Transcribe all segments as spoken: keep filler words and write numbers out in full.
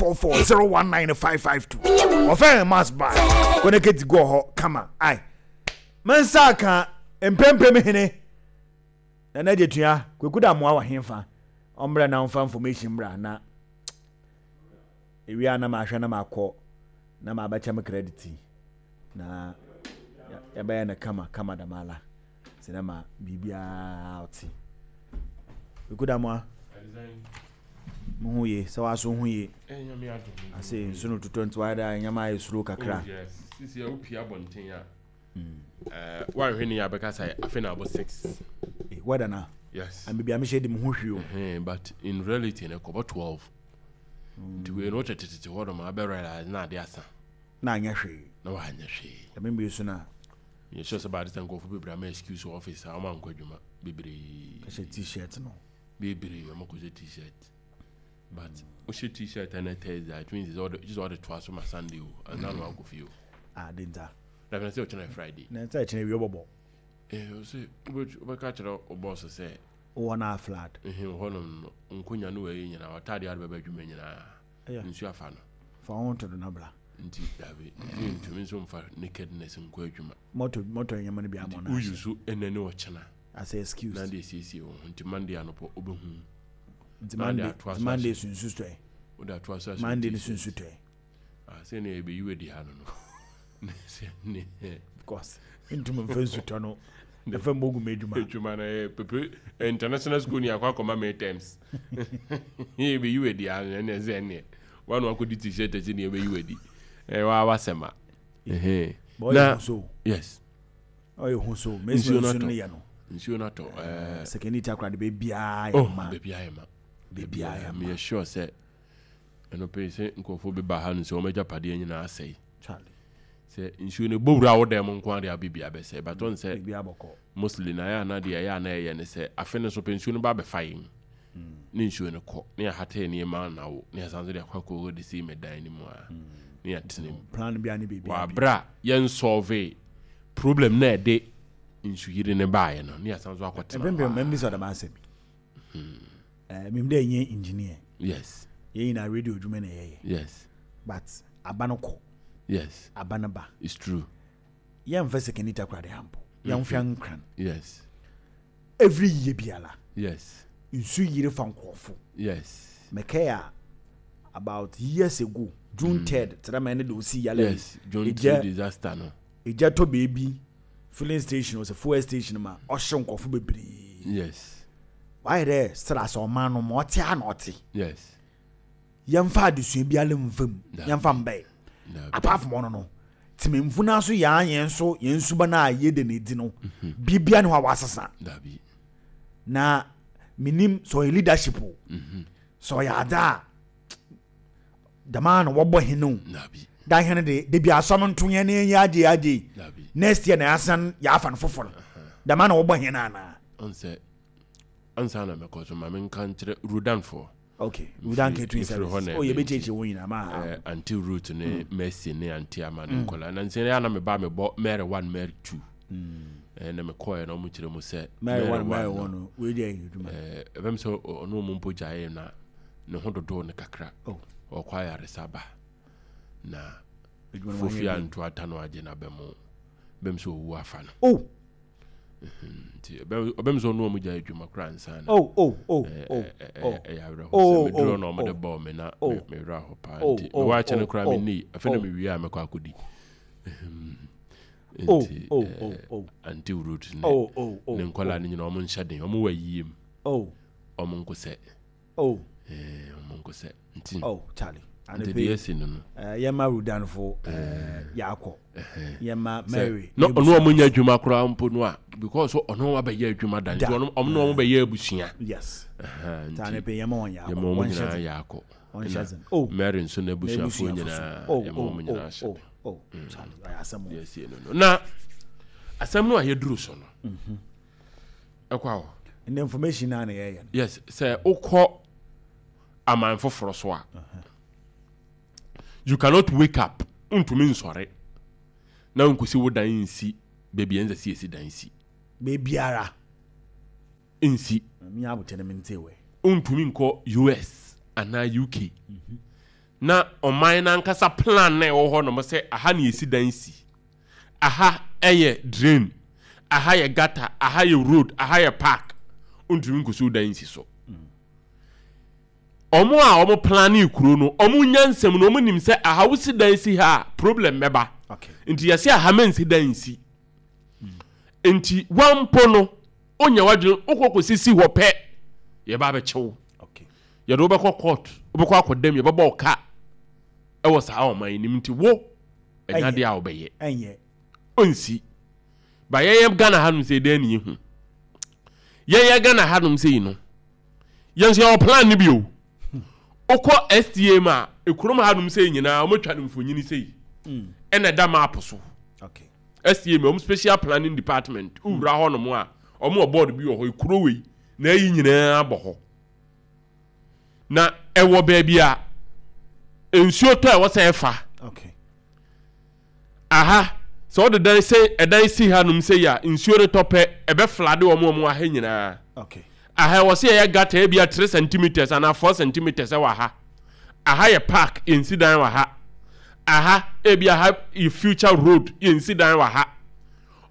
four four zero one nine five five two ɔfɛn mass bar kɔnɛkɛti gɔ hɔ kama ai mensa ka mpempem hene na na tua Kwaku da mmoa wɔ hemfa ɔmbrɛ na ɔmfa information mbra na ewia na mahwɛ na makɔ na mabɛkyɛ me credit na yɛbɛyɛ no kama kama damala sɛ dɛ ma biribiara ɔte. Kwaku da mmoa, mo ho ye sɛ waso ho ye ase nsu no totɔ nti wayɛ dɛ nyɛma ayɛ slow kakra. Oh yes, sisi a wopie abɔnten a, woanhwɛ ne yɛ abɛka sɛ afei na abɔ six. Weather na yes and baabi a mehyɛ di mo ho hwee o, but in reality no kɔbɔ twelve, nti wei no wotetetete hɔ nom abɛ realize na ade asa. Na anyɛ hwee. Na wanyɛ hwee. Ɛmɛ mbie so na yɛ sure sɛ baade sɛ nkurɔfo bebree ama excuse wɔ office a ɔma nkɔ adwuma bebree. Ɛhyɛ T-shirt no. Bebree ɔmo kɔhyɛ T-shirt, but wohyɛ T-shirt ɛnɛ Thursday, it means sɛ ɔde sɛ ɔde toa so ma Sunday o ansa na wakɔ fie o. Ah, de nta. Na fɛn sɛ ɔkyerɛ Friday. Na nsa ɛkyerɛ wie bɔbɔ. Ɛɛ, ɔsɛ wobɛka kyerɛ wo boss sɛ wɔ na flood. Ɛhɛn, hɔnom no nkonya no wɔyɛ nyinaa, ɔtaade ade bɛbɛ adwuma nyinaa nsuo afa no. Fa wɔn to do na bla. Nti dabi, nti ntumi nso nfa nakedness nkɔ adwuma. Mɔtɔ mɔtɔ nyɛma no bi ama na woyi so ɛnɛ ne ɔkyena as a excuse. Na de esiesie wɔn ho nti Monday anɔpɔ wobɛhu. Nti Monday, Monday sunsu tɔɛ. Wode atoa so. Monday ne sunsu tɔɛ. Ah, sɛ ne yɛbɛyi wadi ha no no sɛ ne because ntumi nfa nsutɔ no ɛfɛ mbɔ gu mu adwuma. Adwuma no ɛyɛ pepe international school ni akɔ akɔma me terms yɛbɛyi wadi ha no, ɛne sɛ ɛneɛ wane wakɔdi T-shirt akyi ne yɛbɛyi wadi ɛyɛ waa wasɛm a na yes. Ɔyɛ hu so mesi nsuo no nsuo no atɔ. Yɛ no. Nsuo no atɔ ɛɛ. Sekeni takora de beebiara oh yɛ ma. Beebiara yɛ ma. Beebiara yɛ ma. Meyɛ sure sɛ ɛno pɛ sɛ nkurɔfoɔ bɛba ha no sɛ wɔn agyapadeɛ nyinaa asɛe. Charlie. Sɛ nsuo no bɔ wura wo dan mu nko ara de abibia bɛsɛe, but ɔn sɛ beebiara bɔkɔ. Mostly na ɛyɛ ana deɛ ɛyɛ ana ɛyɛ ne sɛ afe no so pɛ nsuo no ba abɛfa yɛn ne nsuo no kɔ ne yɛahata nneɛma na wo ne yɛsan so de akɔ akɔ de si mɛ dan no mu a ne yɛatena mu. Plan bi a ne beebiara wɔ abere a yɛn solve problem na ɛde nsuyiri ne baeɛ no ne yɛsan so akɔtena mpempem hɔ a. Mɛmbi sɛ ɔdɛm asɛm yi ɛɛ mim dɛ ɛnyɛ engineer. Yes. Yɛn nyinaa radio adwuma na yɛyɛ. Yes. But aba no kɔ. Yes. Aba no ba. It's true. Yɛmfa sekeni takora de hampo yɛmfa nkran. Yes. Every year biara yes nsu yiri fa nkurɔfo. Yes. Mɛkɛ a about years ago, June third tẹrɛ mɛ ne de osi yalɛ. Yes, June three disaster no. Egya tɔ beebi filling station ɔsɛ fuel station ma ɔhyɛ nkurɔfo bebree. Yes. Wayɛ dɛ sra sɛ ɔman no ma ɔte a na ɔte. Yes. Yɛmfa adesua biara mfa mu. Dabi. Yɛmfa mbɛɛ. Dabi. Apart from ɔno no, tìmɛnfo naa so yɛn yɛn so yɛn suba naa yɛ de na edi no biribia ne hɔ a wasesa. Dabi. Na minim sɛ ɔyɛ leadership o, sɛ ɔyɛ ada a dama na wɔbɔ hene o. Dabi. Da hene de debi asɔm nto yɛn ne yɛn agye agye. Dabi. Next year na yɛasan yɛafa no foforɔ dama na wɔbɔ hene anaa? Ɔn sɛ ansa na mɛkɔ so ma menka nkyerɛ Rudanfoɔ. Okay, Rudan Catering mefiri Service. Hɔ na Oh, ɛbɛn. Yɛbɛkyerɛkyerɛ wɔn nyinaa ma ha. Eh, Auntie Ruth ne Mercy ne Auntie Ama ne nkɔla na nsɛn yɛ na meba mebɔ Mary one, Mary two. Eh, na mekɔɛ na ɔmo kyerɛ mu sɛ Mary one, Mary no, one no wei deɛ yɛ adwuma. Eh, ɛbɛm sɛ ɔno ɔmo mpo gyaeɛ na ne ho dodoɔ no kakra. Oh. Ɔkɔ ayaresa ba na adwuma no fofi wanyɛ bi. Anto ata no agye na bɛmo bɛm sɛ ɔwu afa no. Oh. Nti ɛbɛm ɔbɛm sɛ ɔno ɔmo gyae adwuma koraa ansa na oh oh oh eh, oh eh, eh, oh ɛyɛ awerɛho Oh, sɛ meduro oh, na ɔmode oh. bɔɔ me na Oh. me- mewerɛ hɔ paa. Oh, Nti oh, mewɔ akyɛ no oh, koraa oh, menni afei na oh. mewie a mɛkɔ akɔdi. Oh, Nti oh, eh, oh, oh. Auntie Ruth ne Oh, oh, oh, ne nkɔlaa no nyinaa ɔmo nhyɛ den, ɔmo wɔ ayie mu. Oh. Ɔmo nko sɛ Oh. eh, ɔmo nko sɛ nti Oh, Charlie. Nti deɛ asi no no Eh, yɛma Rudanfo eh, yɛakɔ yɛma sɛ Mary. na ɔno ɔmo nyɛ adwuma koraa mpo no a, because ɔno wabɛyɛ adwuma da nti Da. ɔno ɔmo ne ɔmo bɛyɛ abusua. Yes. Ɛhɛn, nti nti anepɛ yɛma wɔn yɛakɔ. Yɛma ɔmo Wɔnhyɛ nyinaa den. yɛakɔ. Wɔnhyɛ Ɛna den. Oh. Mary nso n'abusuafoɔ N'abusuafo so. nyinaa Oh, yɛma oh, ɔmo nyinaa oh, hyɛ oh, den. Oh, Charlie, ɔyɛ asɛm o. Deɛ asie no no na asɛm no a yɛduru so no ɛkɔ awɔ. And the information na na yɛyɛ no. Yes, sɛ wokɔ aman foforɔ so a, you cannot wake up, ntumi nsɔre na nkosi wo dan nsi baabi a ɛnsɛ sɛ yɛsi dan si. Beebiara. Nsi. Mi abotɛ no mi nte wɛ. Ntumi nkɔ U S anaa U K Na ɔman n'ankasa plan na ɛwɔ hɔ nom sɛ aha na yɛsi dan si, aha ɛyɛ drain, aha yɛ gutter, aha yɛ road, aha yɛ park, ntumi nkosi dan nsi so. Ɔmo a ɔmo plan kuro no, ɔmo nyansɛm no, ɔmo nim sɛ aha wosi dan si ha a, problem bɛba. Okay nti yɛsɛ aha mɛnsi dan nsi. Nti wampo no onya wadwene wokɔ kɔsisi hɔ pɛ, yɛba abɛkyew. Okay yɛde wobɛkɔ court, wobɛkɔ akɔdam, yɛbɛbɔ wo ka ɛwɔ saa ɔman yi nim. Nti wo ɛnya Ɛnyɛ. deɛ a wobɛyɛ Ɛnyɛ. Ɔnsi ba. Yɛyɛ Ghana hanom sɛ dɛn ne yɛhu yɛyɛ Ghana hanom sɛ yi no, yɛn nso yɛwɔ plan no bi o. Wokɔ S T A mu a, ekurom hanom sɛ yi nyinaa wɔatwa no mfonyini sɛ yi, ɛna ɛda map so. Okay S T A mu, wɔn special planning department, wowura hɔ nom a, wɔn wɔ board bi wɔ hɔ. Ekuro wei na ayi nyinaa bɔ hɔ na ɛwɔ baabi a nsuo tɔ a ɛwɔ sɛ ɛfa. Okay aha sɛ ɔde dan sɛ ɛdan si hanom sɛ yi a, nsuo no tɔ pɛ, ɛbɛ flood wɔn a wɔn aha nyinaa. Okay aha ɛwɔ sɛ yɛyɛ gutter ebi a three centimeters anaa four centimeters ɛwɔ ha. Aha yɛ park, yɛnsi dan wɔ ha. Aha ebi aha yɛ future road, yɛnsi dan wɔ ha.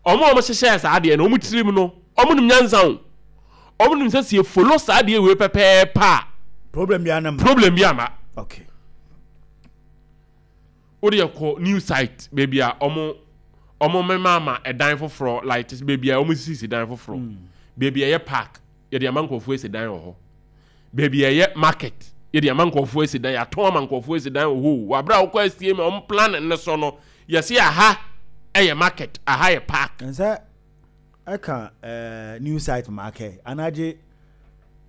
Ɔmo a ɔmo hyehyɛ saa adeɛ no, ɔmo tirim no, ɔmo nim nyansa o. Ɔmo nim sɛ sɛ follow saa adeɛ wei pɛpɛɛpɛ a, problem bi anam. Problem bi ama. Okay wode yɛ new site, baabi a ɔmo ɔmo mema ama ɛdan foforɔ, like baabi a ɔmo sisi dan foforɔ, baabi a ɛyɛ park, yɛde ama nkurɔfoɔ esi dan wɔ hɔ. Baabi a ɛyɛ market, yɛde ama nkurɔfoɔ esi dan, yɛatɔn ama nkurɔfoɔ esi dan wɔ hɔ o. Wabere a wokɔ asie ma ɔmo plan ne so no, yɛsi aha ɛyɛ market, aha yɛ park. Nsɛ ɛka ɛɛ new site market anagye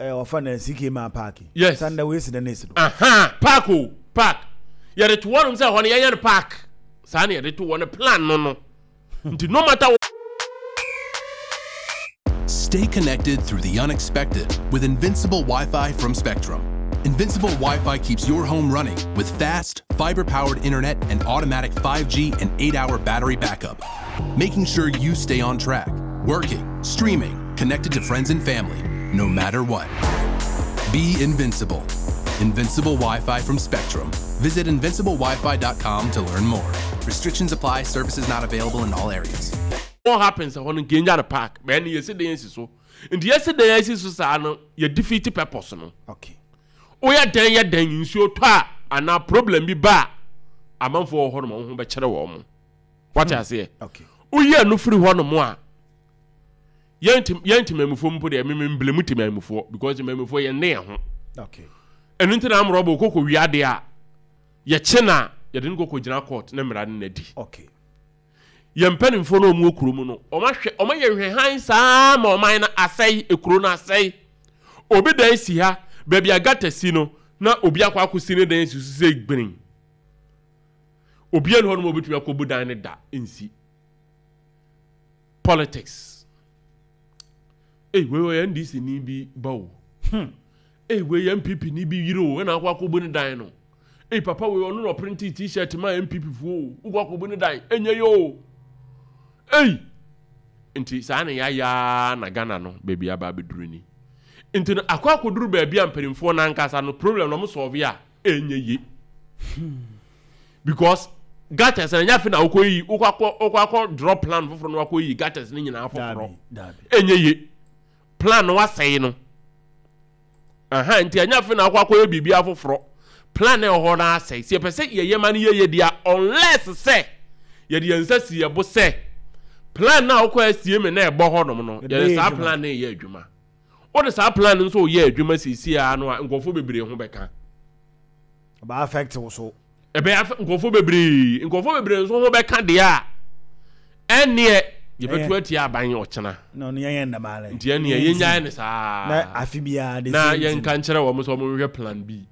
ɛɛ ɔfa na C K ma park. Yes. Sanda wei si da ne si do. Aha park o, park yɛde to wɔnom sɛ hɔ no yɛnyɛ no park. Saa na yɛde to wɔ no plan no no nti no matter. Stay connected through the unexpected with Invincible Wi Fi from Spectrum. Invincible Wi Fi keeps your home running with fast, fiber powered internet and automatic five G and eight hour battery backup, making sure you stay on track, working, streaming, connected to friends and family, no matter what. Be invincible. Invincible Wi Fi from Spectrum. Visit invincible wi fi dot com to learn more. Restrictions apply, services not available in all areas. What happens hɔ no, nka nya no park bɛn no, yɛsi dan asi so. Nti yɛsi dan asi so saa no, yɛ defeat purpose no. Okay woyɛ dan yɛ dan, nsuo tɔ a anaa problem bi ba a, amanfoɔ wɔ hɔ nom a wɔn ho bɛkyerɛ wɔn mo. Wate aseɛ? Okay. Woyi ɛno firi hɔ nom a, yɛn tem yɛn temamufoɔ mpo deɛ, mímí mblemu temamufoɔ because temamufoɔ yɛn ne yɛn ho. Okay ɛno nti na amorɔbɔ okoko wia adeɛ a, yɛkye na yɛde no kɔkɔ gyina court ne mmara no n'adi. Okay yɛn mpanimfoɔ no a wɔn wɔ kurom no, wɔn ahwɛ, wɔn ayɛ hwɛhan saa ma ɔman no asɛe, ekuro no asɛe. Obi dan si ha, baabi a gutter si no, na obi akɔ akɔsi ne dan si so sɛ gbirin. Obi ani hɔ nom a obetumi akɔbu dan ne da nsi. Politics ei, wei wɔyɛ N D C ni bi ba o, ei, wei yɛ N P P ni bi yiri o, ɛna akɔ akɔbu ne dan no. Ei, papa wei, ɔno na ɔprint T-shirt ma N P P foɔ o, wokɔ akɔbu ne dan, ɛnyɛ yɛ o. Ei, nti saa na yɛayaa na Ghana no baabi aba abɛduru ni. Nti no akɔ akɔduru baabi a mpanimfoɔ no ankasa no problem na ɔmo solve a, ɛnyɛ ye because gutters na ɛnyɛ afei na wokɔ yi, wokɔ akɔ wokɔ akɔ draw plan foforɔ na wakɔ yi gutters ne nyinaa foforɔ. Dabi, dabi. Ɛnyɛ ye, plan no wasɛe no. Aha nti ɛnyɛ afei na akɔ akɔyɛ biribi afoforɔ. Plan na ɛwɔ hɔ no asɛe. Sɛ yɛpɛ sɛ yɛyɛ ma no yɛyɛ deɛ, unless sɛ yɛde yɛn nsa si yɛ bo sɛ plan na wokɔ asie me na ɛbɔ hɔ nom no, yɛde yɛde bɛyɛ saa adwuma. Plan no yɛ adwuma. Wode saa plan no nso yɛ adwuma siesie a no a, nkurɔfoɔ bebree ho bɛka. Ɔba affect wo so. Ɛbɛyɛ afɛ nkurɔfoɔ bebree, nkurɔfoɔ bebree nso ho bɛka deɛ a, ɛnneɛ yɛbɛto Ɛyɛ. atia aban ɔkyena. Na ɔno yɛn yɛ nnamaale. Nti ɛnneɛ yɛnyae ne saa. Na afe biara the na same thing. yɛnka nkyerɛ wɔn sɛ wɔnhwɛ plan B.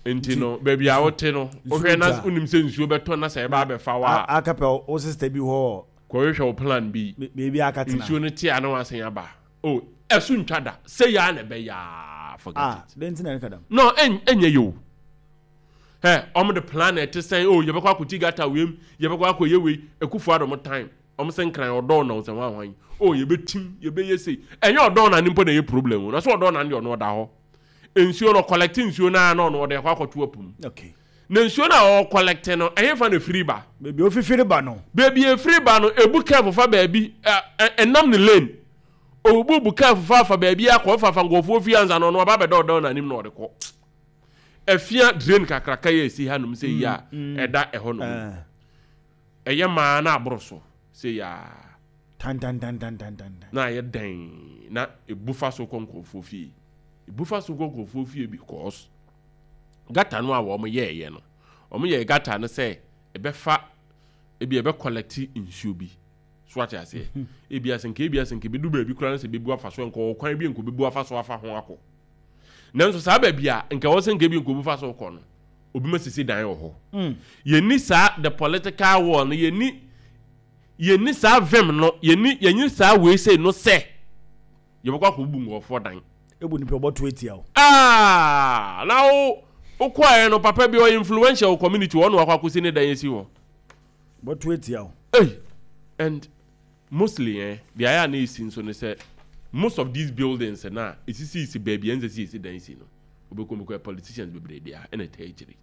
Nti no baabi a wote no, wohwɛ na twa. wonim sɛ nsuo bɛtɔ na sɛ ɛba abɛfa wo a, A- akapɛ wo sister bi hɔ. Kɔhwehwɛ wo plan B. Be- beebi akatena. Nsuo no te a na wasen aba o, ɛso ntwa da sɛ yaa na ɛbɛyaa, forget Ah, it. den ti na ɛka dam. No, ɛn ɛnyɛ yɛ o. Ɛ ɔmo de plan na ɛte sɛn o, yɛbɛkɔ akɔti gutter wei, yɛbɛkɔ akɔyɛ wei. Akufo Addo mo time, ɔmo sɛ Nkran ɔdɔɔ na ɔsɛ hwan hwan o, yɛbɛtim, yɛbɛyɛ sei. Ɛnyɛ ɔdɔɔ na ne mpo na ɛyɛ problem o, na so ɔdɔɔ na ne deɛ, ɔno ɔda hɔ. Nsuo no, collect nsuo no a, na ɔno ɔde akɔ akɔto apum. Okay na nsuo no a ɔwɔ collect no, ɛyɛ fa na firi ba? Baabi ofifiri ba no. Baabi efiri ba no, ebu kɛɛfo fa baabi ɛ ɛ ɛnam ne lane, obubu bu kɛɛfo fa fa baabi akɔ fa fa nkɔfoɔ fie ansa na ɔno ɔba bɛdɔ ɔdɔ n'anim na ɔde kɔ Efia drain kakraka yɛ esi hanom sɛ yi a ɛda ɛhɔ nom. Ɛɛ ɛyɛ maa na aboro so sɛ yaa. Tantantantantantan. Na ayɛ dɛn na ebu fa so kɔ nkurɔfoɔ fie, ebu fa so kɔ nkurɔfoɔ fie, because gutter no a wɔn yɛɛyɛ no, wɔn yɛ gutter no sɛ ɛbɛfa ebi, ɛbɛ collect nsuo bi so, ate aseɛ? Ebi ase nka, ebi ase nka ebi du baabi koraa no sɛ ebi bu afa so, nka ɔwɔ kwan bi nka obi bu afa so afa ho akɔ. Nanso saa baabi a nka wɔn sɛ nka ebi nka obi fa so kɔ no, obi ma sisi dan wɔ hɔ. Yɛni saa the political war no, yɛni yɛni saa vim no, yɛni yɛni saa wei sei no sɛ yɛbɛkɔ akɔbubu nkurɔfoɔ dan. Ebu nipa ɔbɔto etia o. Aa, na wo wokɔɛ no, papa bi ɔyɛ influential wɔ community hɔ na wakɔ akɔsi ne dan esi hɔ. Bɔto etia o. Hey, and mostly eh, deɛ ayɛ a na esi nso ne sɛ most of these buildings na esisi baabi a ɛnsɛ sɛ esi dan si no, wobɛkɔ mu kɔ politicians bebree deɛ ɛna ɛta akyire,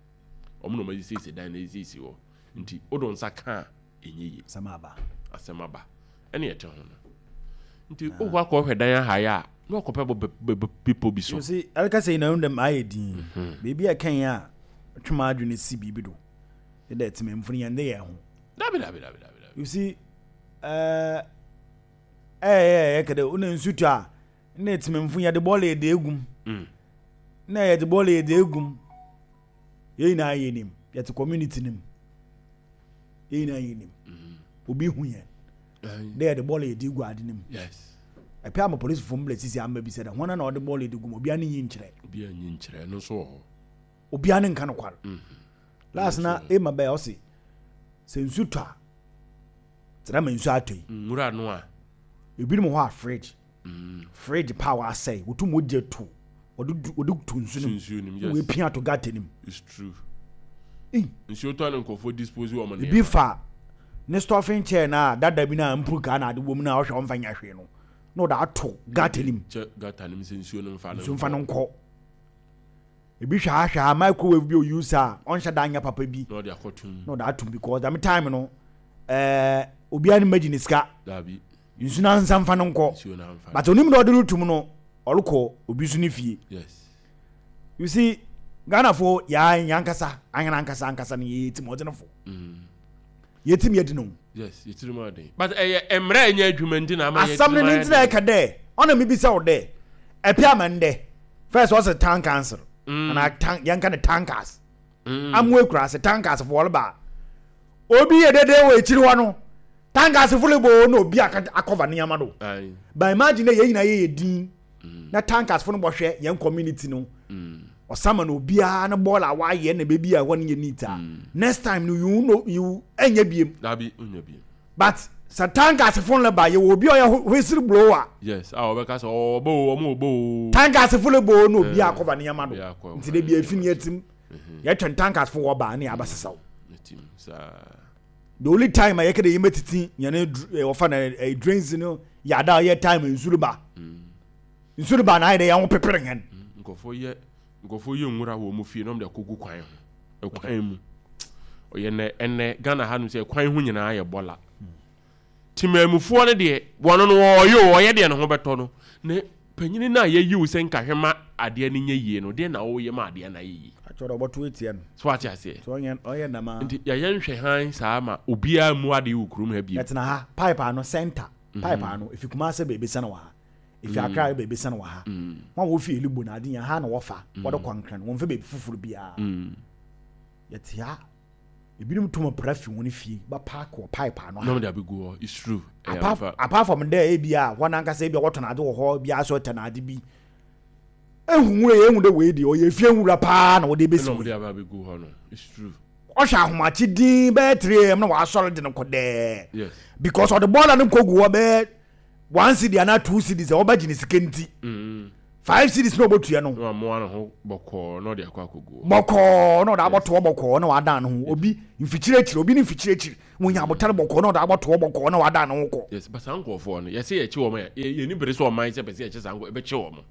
ɔmo na ɔmo esisi dan na esisi hɔ, nti wodɔ nsa ka a ɛnyɛ yie. Asɛm aba. Asɛm aba, ɛne ɛte ho no, nti wokɔ akɔhwɛ dan ahaeɛ a, na wakɔpɛ bɔ bɛ- bepɔ bi so. You see, ɛreka sɛ nyinaa dɛm ayɛ din beebi a ɛkɛn a twem adwene si biribi do ɛdɛ tìmɛnfo no yɛn de yɛn ho. Dabi, dabi, dabi, dabi, dabi. You see, ɛɛ ɛyɛ ɛyɛ kɛdɛ ɔna nsu tɔ a, na tìmɛnfo yɛde bɔɔla yɛde egum Mm. na yɛde bɔɔla yɛde egum. Yɛn nyinaa yɛ nim, yɛte community nim, yɛn nyinaa yɛ nim, obi hu yɛn Ɛn, dɛ yɛde bɔɔla yɛde egu ade nim. Yes ɛpɛ ama polisifoɔ mbla sisi ama bi sɛ dɛ wɔn na ɔde bɔɔla yɛde gu mu, obiara ne nyi nkyerɛ. Obi anyi nkyerɛ no nso wɔ hɔ. Obiara ne nka no kwar. Last na ema bɛyɛ ɔsi sɛ nsu tɔ a, tena ma nsu atɔ yi, nwura no a ebinom hɔ a fridge fridge power asɛe, wotum wogye to, wɔde du- wɔde to nsu no mu. Nsuo nim. Na yes wɔapia ato gutter no mu. It's true. Ei. Nsuo tɔ ne nkurɔfoɔ dispose wɔn Ebi fa ne stuffing chair na dada bi na mpuru na ade wɔ mu na ɔhwɛ ɔmfa nya hwee no, na ɔde ato gutter no mu. Kyɛ gutter no mu sɛ nsuo no mfa no. Nsu mfa no nkɔ. Ebi hwɛ ahwɛ a, microwave bi o use a ɔnhyɛ da anya papa bi na ɔde akɔtum. Na ɔde atom, because dame time no, ɛɛ obiara ne magye ne sika. Dabi. Nsu na nsa mfa no nkɔ. Nsuo no amfa. But onim na ɔde retum no, ɔrekɔ obi so ne fie. Yes you see, Ghanafoɔ yaa yankasa ahena ankasa ankasa no, yɛyɛ tim ɔdzenefo, yɛtim yɛdi no. Yes, yɛtiri mu aden, but ɛyɛ mmerɛ a ɛnyɛ adwuma nti na ama yɛ Asɛm no tirim ne ayɛ ntina den. ɛka dɛ ɔna mebisa wo dɛ ɛpɛ ama ndɛ first ɔsɛ town council anaa town, yɛnka ne tankers amu ekura ase, tankers fo wɔleba, obi yɛ dede wɔ akyiri hɔ no, tankers fo le bo na obi aka akɔva nneɛma do. Aye. But imagine dɛ yɛn nyinaa yɛyɛ din na tankers fo no bɔhwɛ yɛn community no, ɔsama na obiara ne bɔɔl a wayɛ na beebi a ɛhɔ no yɛ neat a, next time no you know you ɛnyɛ biem. Dabi, wonya bi. But sɛ tankers fo no ba, yɛwɔ obi a ɔyɛ whistle blower. Yes, a ɔbɛka sɛ ɔbɔ o, ɔmo ɔbɔ o. Tankers fo le bo na obi akɔva nneɛma do. Obi akɔ- Nti de bi efi ne yɛtim yɛtwɛn tankers fo wɔ ba ne yɛaba sesaw. Tim saa. The only time a yɛkɛ de yɛmɛtiti yɛne dr- eh, wɔfa na eh, drains no yɛada a yɛ time nsuo ba, nsuo ba na ayɛ dɛ yɛn ho pepere yɛn. Nkɔfoɔ yɛ nkɔfoɔ yɛ nwura wɔ ɔmo fie na ɔmo de akɔgu kwan ho, ɛkwan mu ɔyɛ nɛ. Ɛnɛ Ghana ha no sɛ ɛkwan ho nyinaa yɛ bɔla. Temamufoɔ no deɛ, wɔn no ɔyɛ o, ɔyɛ deɛ ne ho bɛtɔ no. Ne panyini no a yɛyi wo sɛ nkahwɛ ma adeɛ no nyɛ yie no deɛ, na wɔyɛ ma adeɛ no ayɛ yie. Atwɛrɛ ɔbɔto etia no. So ate aseɛ? So ɔyɛ ɔyɛ nama. Nti yɛyɛ nhwɛ han saa ma obiara mu adeɛ wɔ kurom ha bio. Yɛtena ha, pipe ano, center pipe ano, efi Kumase baabi sɛn wɔ ha, efi Accra baabi sɛn wɔ ha, wɔn a wofi Elubo na ade yɛn ha na wɔfa wɔde kɔ Nkran, wɔn fɛ baabi foforɔ biara. Yɛte ha, ebinom tum pra fi wɔn fie ba park wɔ pipe ano na ha. ɔmo de abɛgu hɔ, it's true, ɛyɛ apart amfa. Apart from there, ebi a wɔn ankasa ebi a wɔtɔn ade wɔ hɔ bi asɔ tɛn ade bi ehu nwura yɛ ehu dɛ wei deɛ ɔyɛ efie nwura paa na wɔde ebesi ɛna ɔmo de wei. aba abɛgu hɔ no, it's true. Ɔhwɛ ahomakye din bɛyɛ three am na wasɔre de no kɔ dɛɛ. Yes because ɔde bɔɔla no nkɔ gu hɔ bɛyɛ one cedi anaa two cedis a ɔbɛgye ne sika nti five cedis na ɔbɛtua no. Na wamoa ne ho bɔkɔɔ na ɔde akɔ akɔgu hɔ. Bɔkɔɔ na ɔde abɔtoɔ bɔkɔɔ na wadan ne ho, obi mfikyire obi ne mfikyire akyiri wonya abotare bɔkɔɔ na ɔde abɔtoɔ bɔkɔɔ na wadan ne ho kɔ. Yes, but saa nkurɔfoɔ no, yɛsɛ yɛkye wɔn a, yɛ- yɛni bere sɛ ɔman sɛ pɛ sɛ yɛkye saa nkurɔfoɔ, ɛbɛkye wɔn.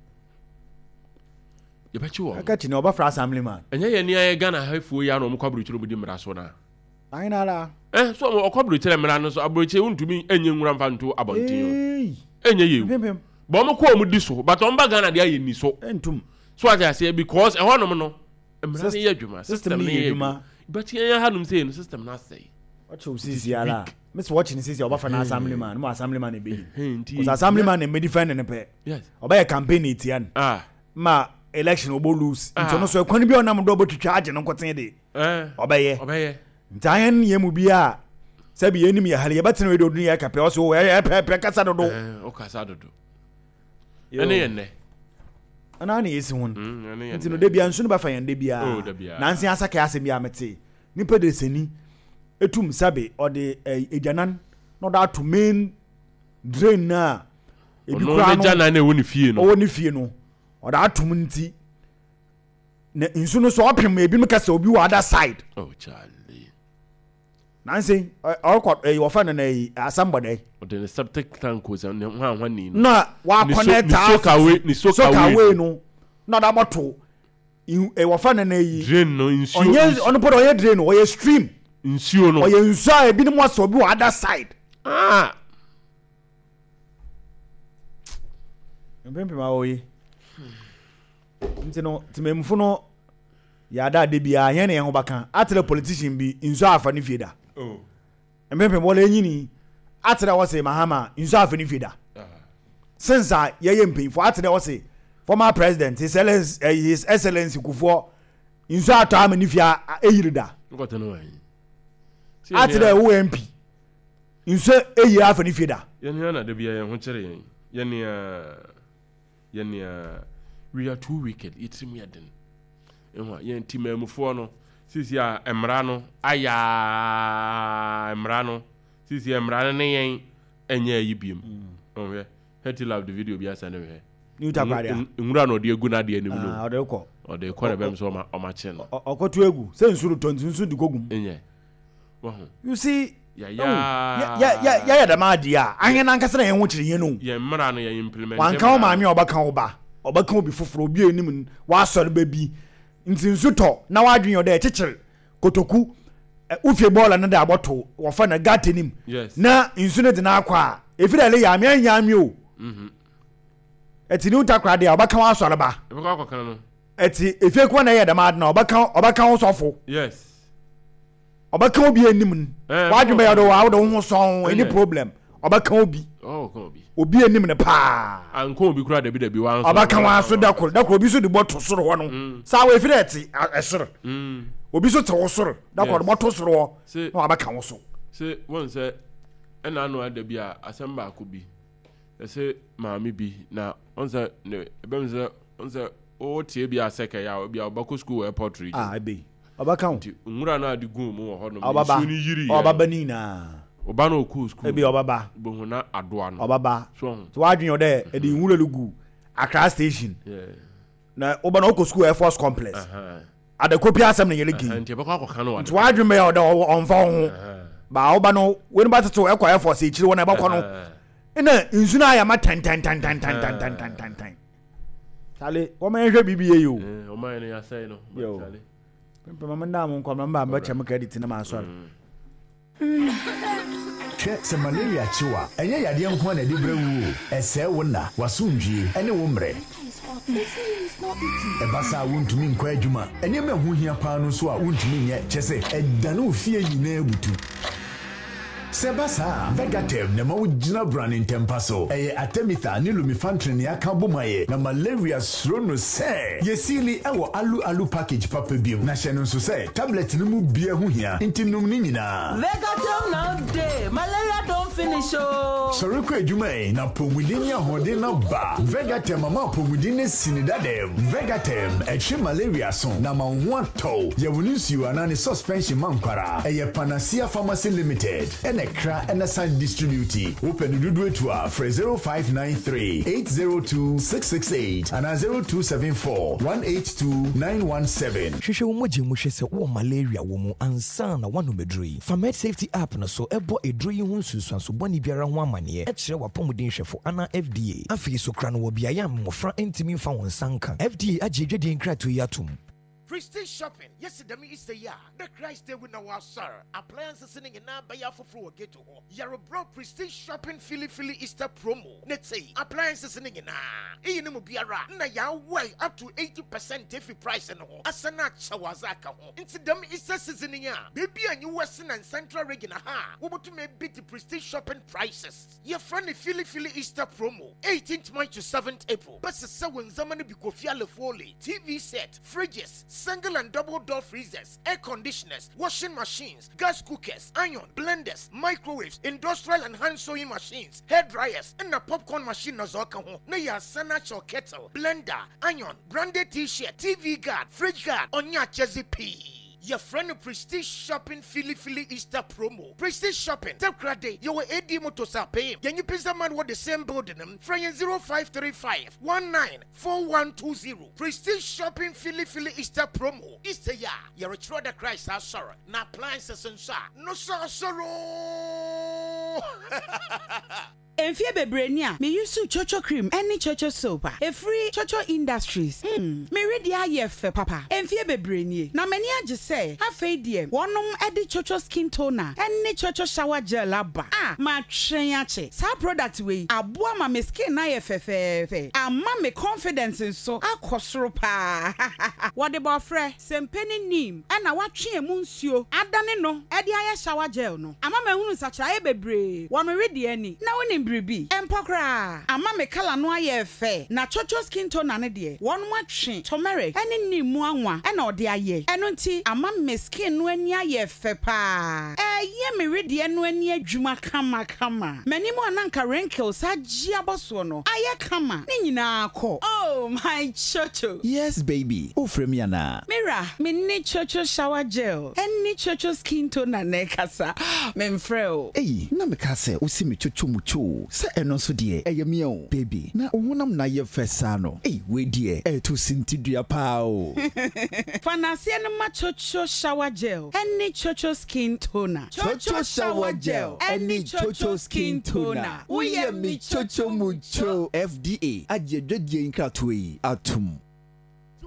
Yɛbɛkye wɔn. Aka kyi na ɔbɛfra assemblyman. Ɛnyɛ yɛn ni ayɛ Ghana hafoɔ yi a na ɔmo kɔ aburokyire ɔmo di mmara so na. Ayi na ala. Eh, so ɔmo ɔkɔ aburokyire mmara no so, aburokyire ntumi enye nwura nfa nto abɔnten o. Enye yie o. Pimpim. Bɔn ɔmo kɔ ɔmo di so, but ɔmo ba Ghana deɛ ayɛ ni so. Ntum. So ate aseɛ, because ɛhɔnom no mmara no yɛ adwuma, system no yɛ adwuma. But yɛn yɛn hanom sɛ no system no asɛe. Ɔkyɛ o sisi ala. Miss watch ni sisi ɔbɛfa na assemblyman, mo assemblyman ebe yi. Nti Cause assemblyman na ebe defend ne pɛ. Yes. Ɔbɛyɛ campaign etia no. Ah. Ma election ɔbɔ lose. Ah. Nti ɔno so ɛkwan bi a ɔnam do ɔbɛtwitwa agye no nkoten de. Eh. Ɔbɛyɛ. Ɔbɛyɛ. Nti ayɛn yɛn mu bi a sɛbi yɛn nim yɛ hali yɛbɛtena wei de odun yɛ kɛpɛ ɔso ɛyɛ pɛ pɛ kasa dodo. Eh, ɔkasa dodo. Ɛne yɛn nɛ. Ɛna na yɛsi ho no. Mm, ɛne yɛn Nti no nɛ. de bia nsu no bɛfa yɛn de bia. Oh, da bia. Nansi asaka asɛm bi a mete. Nipa de sani etum sabe ɔde ɛɛ egyanan na ɔde ato main drain na ebi Ɔno kura ne no gya nan na ɛwɔ ne fie no. Ɔwɔ ne fie no ɔde atom nti na nsu no so ɔpem ebinom kasa obi wɔ other side. Oh, Charlie. Nansi ɔkɔ ɛyi wɔfɛ no na ɛyi asambɔdɛ. Ɔde ne septic tank o sɛ ne ho ahwa ni no. Na wa Ne so- connect ne soakaway, ne soakaway. Soakaway no na ɔde abɔto wɔfɛ no na ɛyi. Drain no nsuo. Ɔnyɛ ɔno pɔ de ɔyɛ drain no, ɔyɛ stream. Nsuo no. Ɔyɛ nsuo a ebinom asɔ obi wɔ other side. Ah. Mpempem a wɔyi. Nti no tìmɛmufo no yɛada ade biara yɛn na yɛn ho baka atere politician bi nsuo afa ne fie da. Oh. Mpempem wɔlɛ enyini atere wɔsɛ Mahama nsuo afa ne fie da. Since a yɛyɛ mpanyinfo atere wɔsɛ former president his excellence eh, his excellence Kufuor nsuo atɔ ama ne fie a eyiri da. Nkɔtɔ no wɔn. Atere ɛwɔ M P nsuo eyiri afa ne fie da. Yɛn ni ana de bia yɛn ho kyerɛ yɛn. Yɛn ni a yɛn ni a we are too wicked. Yɛtirim yɛ den. Ehu a yɛn ti mɛmufoɔ no sisi a mmara no ayaa mmara no sisi a mmara no ne yɛn ɛnyɛ ayi biem. Ɔhwɛ Hetty Love the video bi asa ne hwɛ. New Takoradi a. Nwura na ɔde egu n'adeɛ anim no. Ah, ɔde kɔ. Ɔde kɔ na bɛm sɛ ɔma ɔma kye no. Ɔkɔto egu sɛ nsuo tɔ nti nsuo de kɔ gum. Nyɛ. Wɔho. You see. Ya ya. Ya ya ya ya dɛm adeɛ a ahɛn nankasa na yɛn ho kyerɛ yɛn no. Yɛn mmara no yɛn implement. Wanka wo maame a ɔbɛka wo ba. Ɔbɛka obi foforɔ obi anim wasɔre ba bi. Nti nsu tɔ na wadwen yɛ ɔdɛ kyekyere kotoku ufie bɔɔla no da abɔto wɔfa na gata nim. Yes. Na nsu no de na akɔ a efi dɛ le yame anyame o. Mhm. Eti ni Takoradi a ɔbɛka wasɔre ba. Ɛbɛkɔ akɔka no. Eti efie kɔ na yɛ dɛm ade na ɔbɛka ɔbɛka wo sɔfo. Yes. Ɔbɛka obi anim no. Eh, Wadwen bɛyɛ do wa wo de wo ho sɔn any Eh. problem. Ɔbɛka obi. Oh, ka obi. Obi anim ne paa. Anko obi kura dabi dabi wa nso. Ɔbɛka wa so da kor da kor obi so de bɔto soro hɔ no. Mm. Saa wo efi dɛ te ɛsoro. Mm. Obi so te wo soro da kor Yes. bɔto soro hɔ. Se Na wabɛka wo so. Se won sɛ ɛna ano ada bi a asɛm baako bi. Ɛsɛ maame bi na won sɛ ne ebem sɛ won sɛ o tie bi asɛkɛ ya obi a ɔbɛkɔ school airport region. Ah, ebe. Ɔbɛka wo. Nti nwura na ade gu mu wɔ hɔ no. Ɔbaba. Nsuo no yiri. Ɔbaba ni na. Ɔba na ɔkɔ school. Ebi ɔbaba. Bohu na adoa no. Ɔbaba. So ho. So wadwen yɛ dɛ ɛde nwura no gu Accra station. Yeah. Na ɔba na ɔkɔ school Air Force complex. Uh-huh. Adekopi asɛm na yɛlɛ gei. Nti ɛbɛkɔ akɔka no wɔ Nti wadwen bɛyɛ ɔdɛ ɔmfa wo ho. Ba ɔba no wei no ba tete ɛkɔ Air Force akyiri hɔ na ɛbɛkɔ no. Ɛna nsu no ayɛ ma tan tan tan tan tan tan tan tan tan tan. Charlie, wɔn yɛn hwɛ biribi yɛ yi o. Eh, wɔn ayɛ no yasɛe no. Yo. Charlie. Mpɛ mama ndaa mo nkɔ mama mba kyɛ mo credit na ma asɔre. Hwɛ sɛ malaria kye wa, ɛnyɛ yadeɛ nko na ɛde brɛ wo o. Ɛsɛe wo nna, w'asomdwie, ɛne wo mmerɛ. Ɛba saa wontumi nkɔ adwuma. Nneɛma a ɛho hia paa no nso a wontumi nyɛ, kyɛ sɛ ɛdane wo fie nyinaa butu. Sɛ ɛba saa, Vegatem na ɛma wo gyina brane ntɛmpa so. Ɛyɛ Artemether ne Lumefantrine ne aka bom ayɛ na malaria suro no sɛ. Yɛsiili ɛwɔ alu alu package papa bi mu. Na hyɛ no nso sɛ tablet no mu bia ho hia nti nom ne nyinaa. Vegatem now day, malaria don finish o. Sɔre kɔ adwuma yi na apɔmuden ne ahoɔden na ba. Vegatem ama apɔmuden ne sini dadam. Vegatem ɛtwe malaria so na ma wo ho atɔ. Yɛwɔ ne nsuo anaa ne suspension ma nkwara. Ɛyɛ Panacea Pharmacy Limited. Ɛna Kra ɛna san distribute. Wopɛ no dodoɔ etu a frɛ zero five nine three eight zero two six six eight anaa zero two seven four one eight two nine one seven. Hwehwɛ wo mogya mu hwɛ sɛ wowɔ malaria wɔ mu ansa na woanom aduro yi. Fa Med Safety app no so ɛbɔ aduro yi ho nsunsuanso nsunsuanso bɔne biara ho amanneɛ kyerɛ w'apɔmuden hwɛfo anaa F D A. Afei so kora no wɔ beaeɛ a mmɔfra ntumi mfa wɔn nsa nka. F D A agye adwadie nkratoɔ yi atom. Prestige Shopping, yɛsi dɛm Easter yi a the Christ ewu na wasɔre, appliances ne nyinaa bɛyɛ afoforɔ wɔ ghetto hɔ. Yɛrebrɛ Prestige Shopping Filifili Easter promo ne te appliances ne nyinaa iyi ne mu biara na yɛawɔe up to eighty percent efi price no ho asan akyɛ wɔ adze aka ho. Nti dɛm Easter season yi a beebi a nyi Western and Central Region ha a wɔbɛtumi ebi Prestige Shopping prices. Yɛfrɛ no Filifili Easter promo, eighteenth March to seventh April. Bɛsesɛ wɔn ndzɛmba no bi kofi alefole, T V set, fridges, single and double door freezers, air conditioners, washing machines, gas cookers, iron, blenders, microwaves, industrial and hand sewing machines, hair dryers, ɛna popcorn machine na zɔ ɔka ho na yɛ asan akyɛw kettle, blender, iron, branded T-shirt, T V guard, fridge guard, ɔnyɛ akyɛdze pii. Yɛfrɛ no Prestige Shopping Filifili Easter promo. Prestige Shopping, Takoradi, yɛwɔ A D Motors apɛyim, yɛnye Pizza Man wɔ the same building mu. Frɛ yɛn zero five three five one nine four one two zero. Prestige Shopping Filifili Easter promo. Easter yi a yɛrekyerɛ the Christ asɔre na appliances nso a no so asɔre. Mfie bebree ni a meyusu Chocho cream ne Chocho soap a ɛfiri Chocho Industries. mm, mere deɛ ayɛ fɛ papa. Mfie bebree nie na m'ani agye sɛ afei deɛ wɔnom de Chocho skin toner ne Chocho shower gel aba a matwɛn akye. Saa product wei aboa ma me skin ayɛ fɛfɛɛfɛ, ama me confidence nso akɔ soro paa. Wɔde bɔɔfrɛ, sempe ne neem ɛna watwe emu nsuo adane no ɛde ayɛ shower gel no. Ama mahunu nsakyeraeɛ bebree wɔ me wedeɛ ani. Na wonim biribi ɛmpɔ koraa, ama me colour no ayɛ fɛ. Na Chocho skin toner no deɛ, wɔn atwe turmeric ɛne neem mu anwa ɛna ɔde ayɛ. Ɛno nti ama me skin no ani ayɛ fɛ paa, ɛyɛ me wedeɛ no ani adwuma kamakama. M'anim a nanka wrinkles agye abɔ soɔ no ayɛ kama, ne nyinaa kɔ. Oh my Chocho! Yes, baby. Wofrɛ me anaa? Mira, me ne Chocho shower gel ɛne Chocho skin toner na ɛkasa, memfrɛ o. Eyi, na meka sɛ wosi me chocho mu cho sɛ ɛno nso deɛ ɛyɛ me o. Baby, na wo honam na yɛ fɛ saa no. Ei, wei deɛ ɛɛto sintidua paa o. Fa n'aseɛ no ma Chocho shower gel ɛne Chocho skin toner. Chocho shower gel ɛne Chocho skin toner. Woyɛ me chocho mu cho. F D A agye adwadie nkratoɔ yi atom.